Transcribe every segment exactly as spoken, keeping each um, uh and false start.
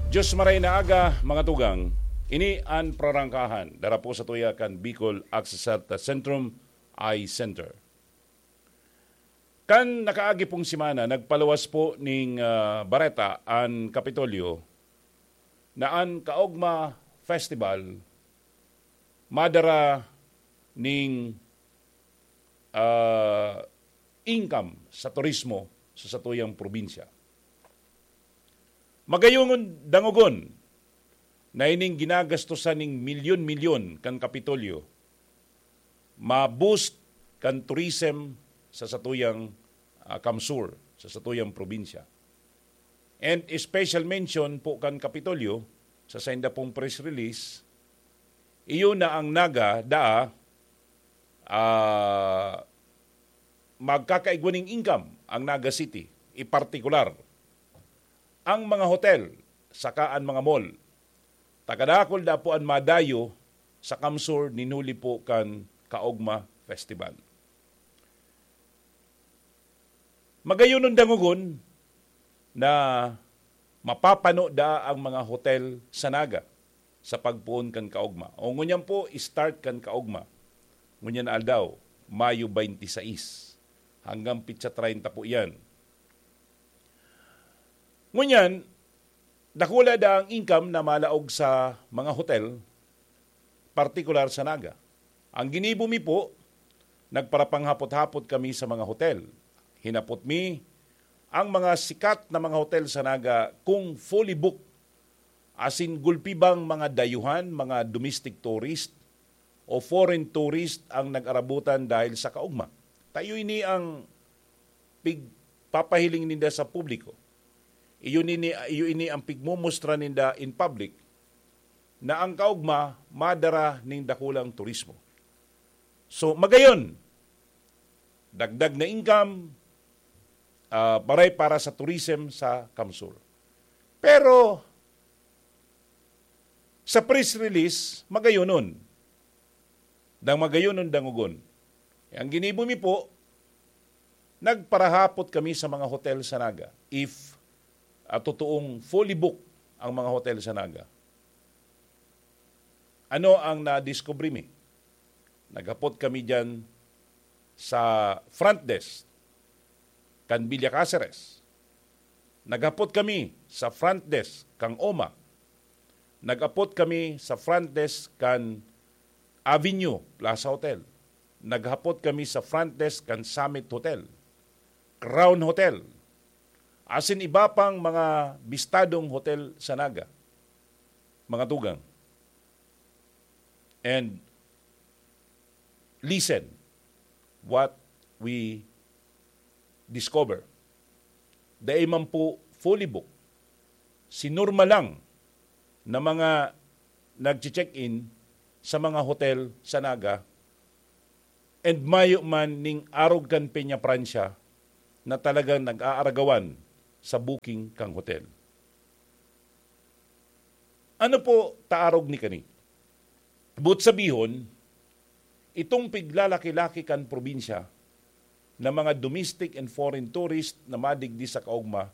Diyos maray na aga, mga tugang. Ini an prarangkahan, dara po sa tuya kan Bicol Access Health Centrum Eye Center. Kan nakaagi pong semana, nagpaluwas po ning, ah, bareta an Kapitolyo na an Kaogma Festival madara ning, ah, income sa turismo sa satuyang probinsya. Magayungon dangogon na ining ginagastosan ning milyon-milyon kan Kapitolyo ma-boost kan tourism sa satuyang, ah, kamsur, sa satuyang probinsya. And special mention po kan Kapitolyo sa sainda pong press release, iyo na ang Naga daa, ah, magkakaigwa ning income ang Naga City, ipartikular ang mga hotel saka an mga mall. Takadakul da po an madayo sa kamsur nin huli po kan Kaogma Festival. Magayonon dangogon na mapapano da ang mga hotel sa Naga sa pagpoon kan Kaogma. O ngunyan po, start kan Kaogma. Ngunyan na aldaw, Mayo twenty-six. Hanggang pitsa treinta po iyan. Ngunyan, dakula da ang income na malaog sa mga hotel, partikular sa Naga. Ang ginibo mi po, nagparapanghapot-hapot kami sa mga hotel. Hinapot mi ang mga sikat na mga hotel sa Naga kung fully booked, asin gulpi bang mga dayuhan, mga domestic tourist o foreign tourist ang nag-arabutan dahil sa Kaogma. Ta iyo ini ang pigpapahiling ninda sa publiko. Iyo nini, iyo ini ang pigmumustra ninda in public na ang Kaogma madara ning dakulang turismo. So, magayon, dagdag na income, ah, maray para sa tourism sa kamsur. Pero, sa press release, magayonon. Dang magayonon, dangogon. Eh, ang ginibo mi po, nagparahapot kami sa mga hotel sa Naga. If, ah, totoong fully booked ang mga hotel sa Naga. Ano ang nadiskubre mi? Naghapot kami diyan sa front desk kan Villa Caceres. Naghapot kami sa front desk kan OMA. Naghapot kami sa front desk kan Avenue Plaza Hotel. Naghapot kami sa front desk kan Summit Hotel, Crown Hotel, asin iba pang mga bistadong hotel sa Naga, mga tugang. And listen what we discover. Dai man po fully booked. Sinormal lang na mga nagche-check-in sa mga hotel sa Naga, and mayo man ning arog kan Peña Francia na talagang nag-aaragawan sa booking kan hotel. Ano po ta arog ni kani? Boot sabihon, itong piglalaki-laki kan probinsya na mga domestic and foreign tourist na madigdi sa Kaogma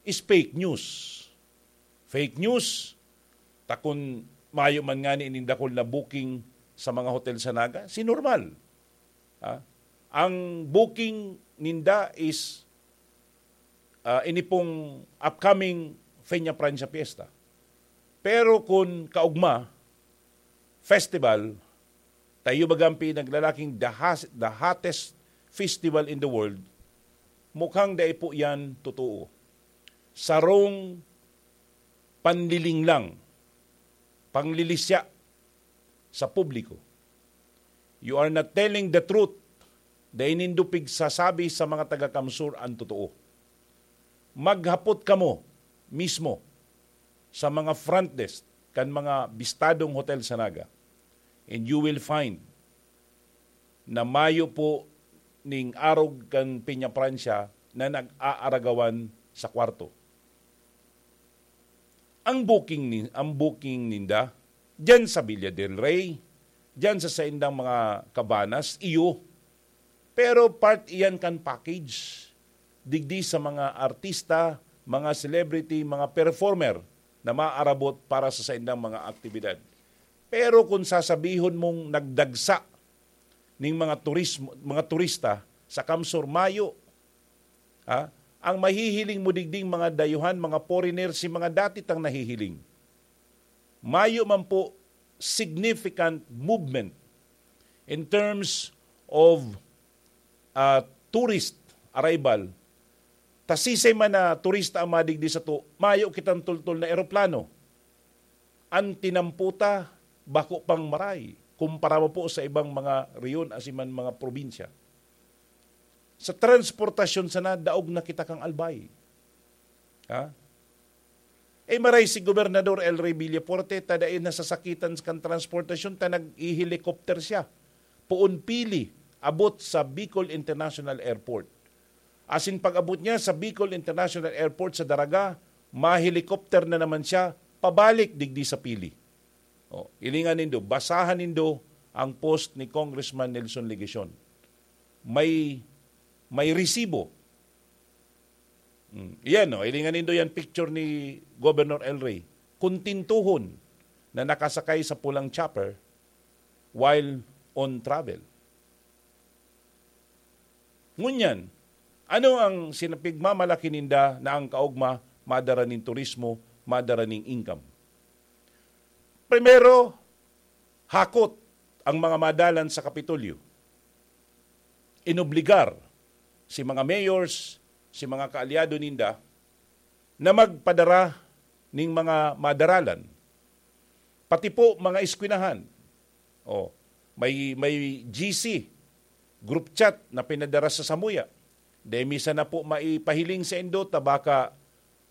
is fake news. Fake news, ta kun mayo man ngani ning dakul na booking sa mga hotel sa Naga, sinormal. Ha? Ang booking ninda is, ah, ini pong upcoming Peña Francia Fiesta. Pero kun Kaogma Festival, ta iyo bagang pinaglalaking the has-, the hottest festival in the world, mukhang dai po yan totoo. Sarong panliling lang, panlilisya sa publiko. You are not telling the truth. Dai nindo pigsasabi sa mga taga-Kamsur an totoo. Maghapot kamo mismo sa mga front desk kan mga bistadong hotel sa Naga, and you will find na mayo po ning arog kan Peña Francia na nag-aaragawan sa kwarto. Ang booking ni, ang booking ninda diyan sa Villa del Rey, diyan sa saindang mga cabanas, iyo. Pero part iyan kan package. Digdi sa mga artista, mga celebrity, mga performer na maarabot para sa saindang mga aktibidad. Pero kung sasabihon mong nagdagsa ning mga turismo, mga turista sa Kamsur, mayo, ha? Ang mahihiling mo digding mga dayuhan, mga foreigner, si mga dati tang nahihiling. Mayo man po significant movement in terms of, ah, tourist arrival. Ta sisay man na turista ang madigdi sato, mayo kitang tultol na eroplano. An tinampo ta, bako pang maray, kumpara mo po sa ibang mga rehiyon, asin man mga probinsya. Sa transportasyon sana, daog na kita kan albay. Ha? Eh, maray si Gobernador El Rey Villafuerte, ta dai nasasakitan kan transportasyon, ta nag-helicopter siya. Poon pili, abot sa Bicol International Airport. Asin pag-abot niya sa Bicol International Airport sa Daraga, ma-helicopter na naman siya pabalik digdi sa pili. O, hilingan nindo, basahan nindo ang post ni Congressman Nelson Legacion. May, may resibo. Hmm. Yan, no? Hilingan nindo yan picture ni Governor El Rey. Kuntintuhon na nakasakay sa pulang chopper while on travel. Ngunyan, ano ang sinapigmamalaki ninda na ang kaogma madara nin turismo, madara nin income? Primero, hakot ang mga madalan sa Kapitolyo. Inobligar si mga mayors, si mga kaalyado ninda na magpadara ning mga madaralan. Pati po mga eskwelahan. O, may, may G C, group chat na pinadara sa samuya. Dai mi sana po maipahiling saindo ta baka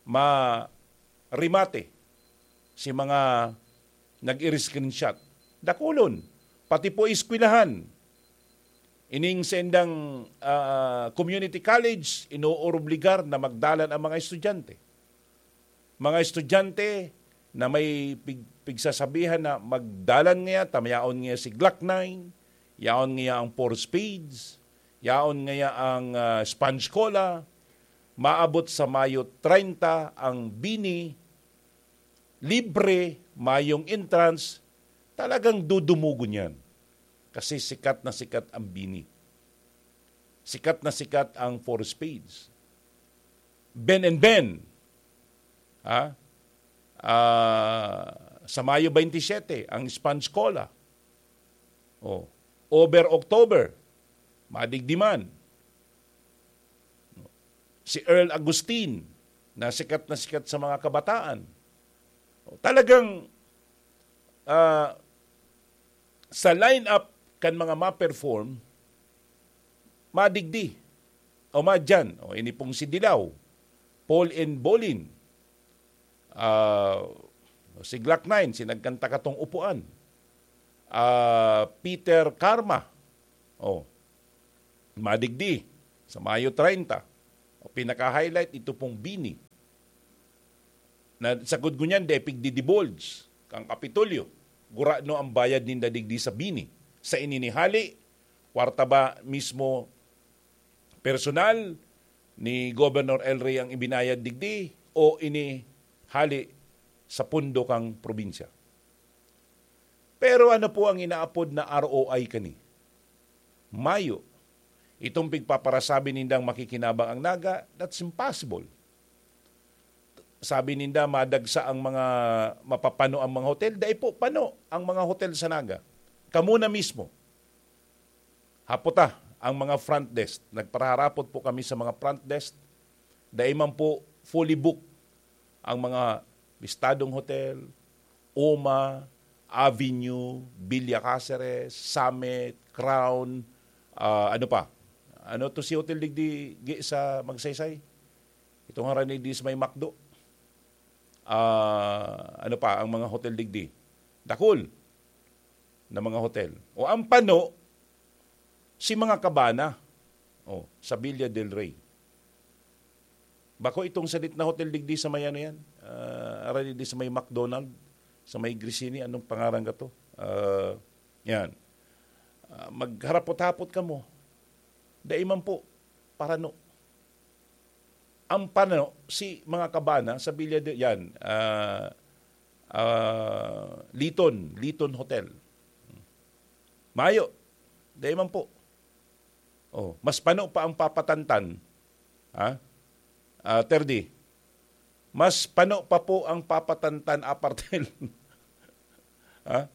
maremate si mga nag-i-screenshot. Dakulon, pati po eskwelahan. Ining saindang, ah, community college, inoorobligar na magdalan ang mga estudyante. Mga estudyante na may pig-, pigsasabihan na magdalan ngaya, ta mayaon ngaya si Glock nine, yaon ngaya ang four spades, yaon ngaya ang, ah, sponge cola, maabot sa Mayo treinta ang BINI, libre, mayong entrance, talagang dudumugon yan. Kasi sikat na sikat ang BINI. Sikat na sikat ang four spades. Ben and Ben. Ha? Ah, sa Mayo twenty-seven, ang sponge cola. Oh. Over October, madigdi man. Si Earl Agustin, na sikat na sikat sa mga kabataan. Talagang, ah, sa lineup kan mga ma-perform, madigdi o madyan. O, ini pong si Dilaw, Paul and Bolin, ah, si Glock nine, si nagkanta katong upuan, ah, Peter Karma, o, madigdi, sa Mayo treinta. O, pinaka-highlight, ito pong BINI. Na, sagkod ngunyan, dai pigdi-divulge kan Kapitolyo. Gurano ang bayad ninda digdi sa BINI? Sa ininihali, kwarta ba mismo personal ni Governor El Rey ang ibinayad digdi o ini hali sa pondo kang probinsya? Pero ano po ang inaapod na R O I kani? Mayo. Itong pigpaparasabi nindang makikinabang ang Naga, that's impossible. Sabi ninda, madagsa ang mga mapapano ang mga hotel. Dai po pano ang mga hotel sa Naga. Kamo na mismo. Hapota ang mga front desk. Nagpaharapot po kami sa mga front desk. Dai man po fully booked ang mga Estadong Hotel, Oma, Avenue, Villa Caceres, Summit, Crown, ah, ano pa? Ano to si hotel digdi gi-, sa Magsaysay? Itong harani di sa may McDo. Ah, ano pa ang mga hotel digdi? Dakul na mga hotel. O ang pano, si mga Cabana. O, sa Villa del Rey. Bako itong salit na hotel digdi sa may ano yan, ah, harani di sa may McDonald, sa may Grisini, anong pangaran ka to? Ah, yan. Ah, magharapot-hapot kamo. Dai man po, parano. Ang pano, si mga Cabana, sa Villa de, yan, ah, ah, Liton, Liton Hotel. Mayo. Dai man po. Oh, mas pano pa ang papatantan. Ha? Ah, Terdi, mas pano pa po ang papatantan apartel. Ha?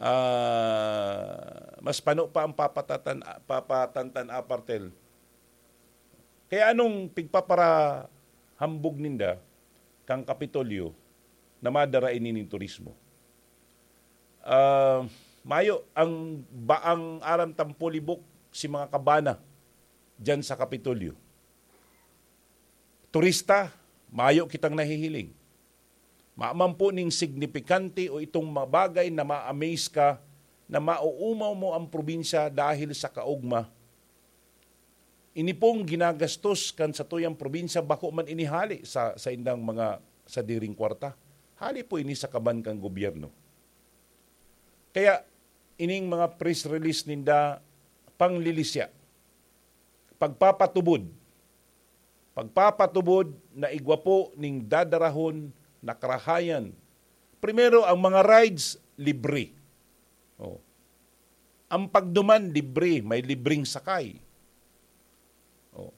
Ah, mas pano pa ang papatatan, papatantan apartel. Kaya anong pigpaparahambog ninda kan Kapitolyo na madara ini nin turismo? Ah, mayo ang baang aram tampo libok si mga kabana diyan sa Kapitolyo. Turista, mayo kitang nahihiling. Maamang po ning signipikante o itong mga bagay na ma-amaze ka, na maoomaw mo ang probinsya dahil sa kaogma. Ini pong ginagastos kan satuyang probinsya, bako man inihali sa, sa indang mga sadiring kwarta. Hali po ini sa kaban kan gobyerno. Kaya, ining mga press release ninda, panglilisya, pagpapatubod, pagpapatubod na igwa po ning dadarahon na karahayan. Primero, ang mga rides, libre. Oh. Ang pagduman, libre. May libreng sakay. Oh.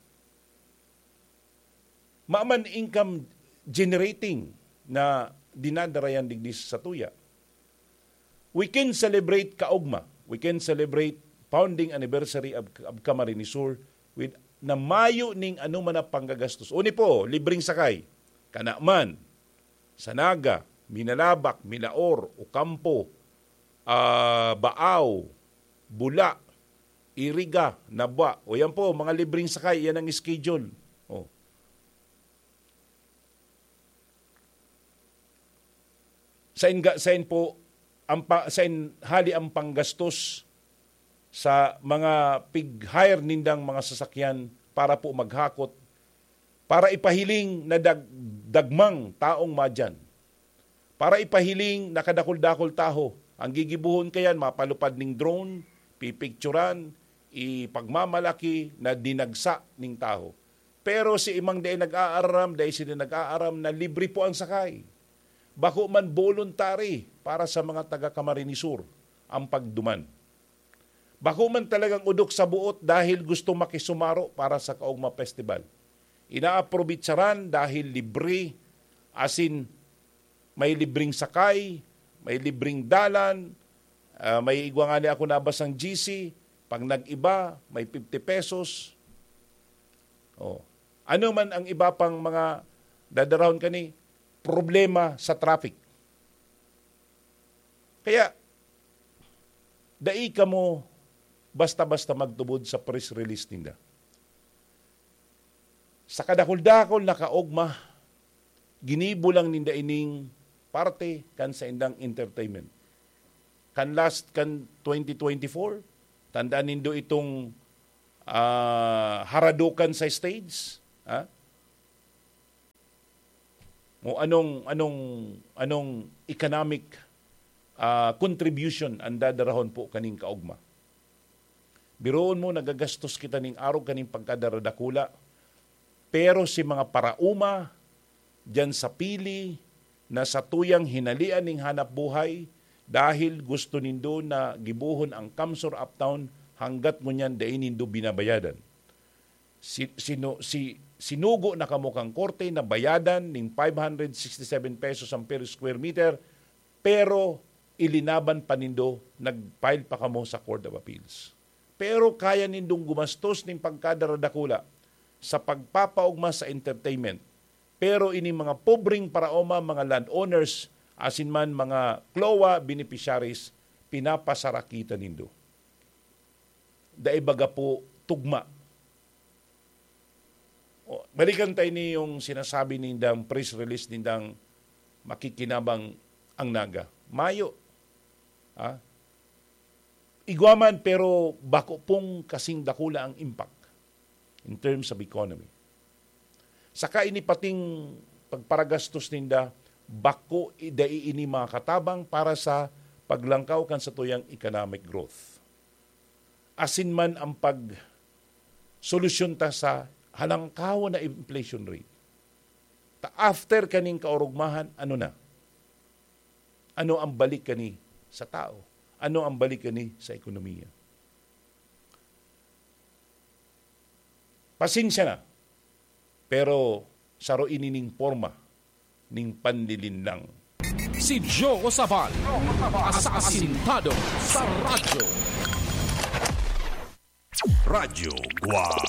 Maman income generating na dinadara yan digdi sa satuya. We can celebrate kaogma. We can celebrate founding anniversary of, of Camarines Sur with na mayo ning ano man na panggagastos. Uni po, libreng sakay. Kanaman, Sanaga, Minalabak, Milaor, Ocampo, ah, Baao, Bula, Iriga, Nabua. O yan po, mga libreng sakay, yan ang schedule. Oh. Sain ga, sain po, ang pa, sain hali ang panggastos sa mga pig-hire nindang mga sasakyan para po maghakot, para ipahiling na dag-, dagmang taong madyan, para ipahiling na kadakul-dakul taho. Ang gigibohon kayan, mapalupad ning drone, pipicturan, ipagmamalaki na dinagsa ning taho. Pero si imang dai nag-aaram, dai sila nag-aaram na libre po ang sakay. Bako man voluntary para sa mga taga Camarines Sur ang pagduman. Bako man talagang udok sa buot dahil gusto makisumaro para sa Kaogma Festival. Inaaprobitsaran dahil libre, asin may libreng sakay, may libreng dalan, ah, may igwa ngani ako nabasang G C, pag nag-iba, may fifty pesos. Oh. Ano man ang iba pang mga dadarahon kani, problema sa traffic. Kaya, dai kamo basta-basta magtubod sa press release ninda. Sa kadakul-dakul na kaogma, ginibo lang ninda ining parte kan saindang entertainment. Kan last, kan twenty twenty-four, tandaan nindo itong, ah, haradukan sa stage, ha? O anong, anong, anong economic, ah, contribution ang dadarahon po kaning kaogma? Biruon mo, nagagastos kita ning arog kaning pagkadaradakula, pero si mga paraoma diyan sa pili na satuyang hinalian ning hanap buhay dahil gusto nindo na gibohon ang Kamsur Uptown, hanggat ngunyan dai nindo binabayadan. Si, sinu-, si, sinugo na kamo kan korte na bayadan ning five hundred sixty-seven pesos ang per square meter, pero ilinaban pa nindo, nag-file pa kamo sa Court of Appeals. Pero kaya nindong gumastos ning pagkadaradakula sa pagpapaogma sa entertainment. Pero ining mga pobreng paraoma, mga landowners, asin man mga CLOA beneficiaries, pinapasarakitan nindo. Dai baga po tugma. O, balikan tayo ni yung sinasabi nindang press release nindang makikinabang ang Naga. Mayo. Ha? Igwa man, pero bako pong kasing dakula ang impact in terms of economy. Saka ini pating pagparagastos ninda, bako i-, dai ini makatabang para sa paglangkaw kan satuyang economic growth. Asin man ang pag-, solusyon ta sa halangkaw na inflation rate. Ta after kaning kaorogmahan, ano na? Ano ang balik kani sa tao? Ano ang balik kani sa ekonomiya? Pasensya na, pero saro ini ning porma ning panlilinlang. Si Joe Sabal, asasintado sa radyo. Radyo Guwang.